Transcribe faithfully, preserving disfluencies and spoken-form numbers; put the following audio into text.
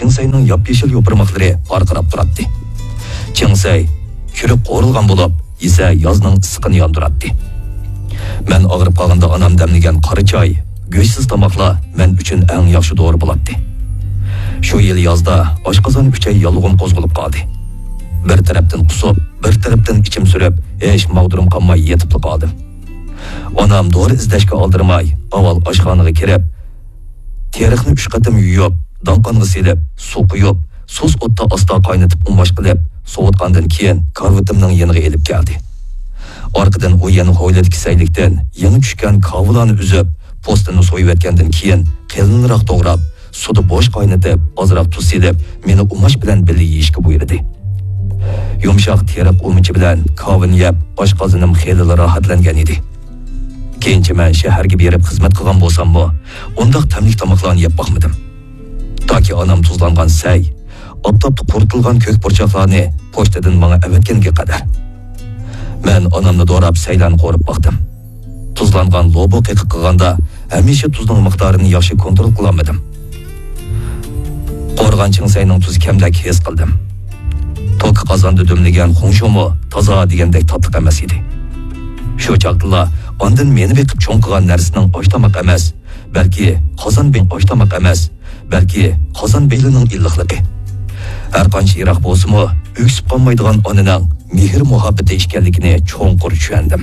چىڭسەينىڭ ياپيېشىل يوپۇرماقلىرى پارقىراپ تۇراتتى. چىڭسەي چۈرۈك قورۇلغان بولۇپ، يېسە يازنىڭ ئىسسىقىنى ياندۇراتتى. مەن ئاغرىپ قالغاندا ئانام دەملىگەن قارا چاي، گۆشسىز تاماقلار مەن ئۈچۈن ئەڭ ياخشى دورا بولاتتى. شۇ يىل يازدا ئاشقازان ئۈچەي ياللۇغۇم قوزغىلىپ قالدى. بىر تەرەپتىن قۇسۇپ، بىر تەرەپتىن ئىچىم سۈرۈپ، ھېچ ماغدۇرۇم قالماي يېتىپلا قالدىم. ئانام دورا ئىزدەشكە ئالدىرىماي، ئاۋۋال ئاشخانىغا كىرىپ، تېرىقنى ئۈچ قېتىم يۇيۇپ، داڭقانغا سېلىپ، سۇ قۇيۇپ، سۇس ئوتتا ئاستا قاينىتىپ ئۇماش قىلىپ، سوۋۇتقاندىن كېيىن كارىۋىتىمنىڭ يېنىغا ئېلىپ كەلدى. ئارقىدىن ئۇ يەنە ھويلىدىكى سەيلىكتىن يېڭى چۈشكەن كاۋىلارنى ئۈزۈپ، پوستىنى سويۇۋەتكەندىن كېيىن قېلىنراق توغراپ، سۇدا بوش قاينىتىپ، ئازراق تۇز سېلىپ، مېنى ئۇماش بىلەن بىللە يېيىشكە بۇيرۇدى. يۇمشاق تېرىق ئۇمىچى بىلەن كاۋىنى يەپ، ئاشقازىنىم خېلىلا راھەتلەنگەن ئىدى. كېيىنچە مەن شەھەرگە بېرىپ خىزمەت قىلغان بولساممۇ، ئۇنداق تەملىك تاماقلارنى يەپ باقمىدىم. تاكى ئانام تۇزلانغان سەي، ئاپتاپتا قۇرۇتۇلغان كۆك پۇرچاقلارنى پوچتىدىن ماڭا ئەۋەتكەنگە قەدەر. مەن ئانامنى دوراپ سەيلەرنى قورۇپ باقتىم. تۇزلانغان لوبۇ قېقىق قىلغاندا ھەمىشە تۇزنىڭ مىقدارىنى ياخشى كونترول قىلالمىدىم. قورۇغان چىڭسەينىڭ تۇزى كەمدەك ھېس قىلدىم. توكا قازاندا دۈملىگەن خۇڭشۇمۇ تازا دېگەندەك تاتلىق ئەمەس ئىدى. شۇ چاغدىلا ئاندىن مېنى بېقىپ چوڭ قىلغان نەرسىنىڭ ئاشتاماق ئەمەس، بەلكى قازان بېي-، ئاشتاماق ئەمەس، بەلكى قازان بېلىنىڭ ئىللىقلىقى. ھەرقانچە يىراق بولسىمۇ، ئۆكسۈپ قالمايدىغان ئانىنىڭ مېھىر-مۇھەببىتى ئىكەنلىكىنى چوڭقۇر چۈشەندىم.